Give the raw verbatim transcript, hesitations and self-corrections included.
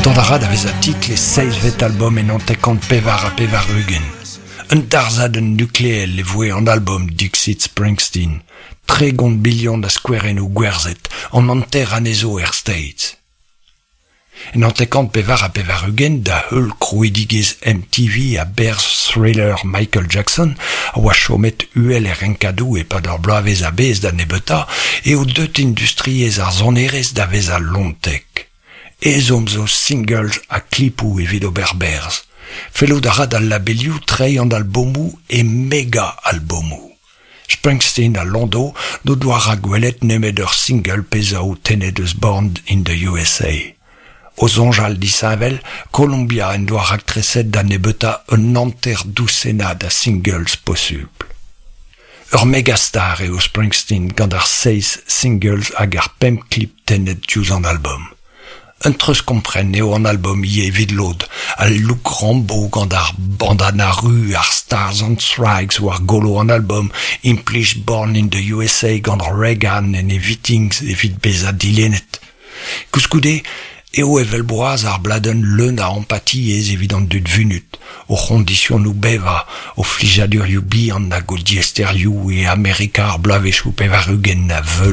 Dont a ra da vezañ titl e seizhvet albom en hanter-kant pevar ha pevar-ugent. Un darzhadenn nukleel e voe an albom Dixit Springsteen. Tregont milion a skouerennoù gwerzhet, an hanter anezho er States. En hanter-kant pevar ha pevar-ugent da heul krouidigezh M T V a-berzh thriller Michael Jackson a oa chomet uhel er renkadoù e-pad ur bloavezh a-bezh da nebeutañ eo deut industriezh ar sonerezh da vezañ lontek. Ezhomm zo singles ha klipoù evit ober berzh. Fellout a ra d'al labelioù treiñ an albomoù e mega-albomoù. Springsteen ha Landau n'o doa rakwelet nemet ur single pe zaou tennet eus Born in the U S A. O soñjal disheñvel, Columbia en doa raktreset da nebeutañ un hanter dousennad a singles posupl. Ur megastar eo Springsteen gant ar seizh singles hag ar pemp klip tennet diouzh an album. Un treuzkompren eo an album ivez evit lod, al look Rambo gant ar bandana ru, ar Stars and Stripes war golo an album, implij Born in the U S A gant Reagan en e meetings evit bezañ dilennet. Koulskoude, eo evel boaz ar bladenn leun a empatiezh evit an dud vunut, o c'hondisionoù bevañ, o flijadurioù bihan hag o diaesterioù e Amerika ar bloavezhioù pevar-ugent a veul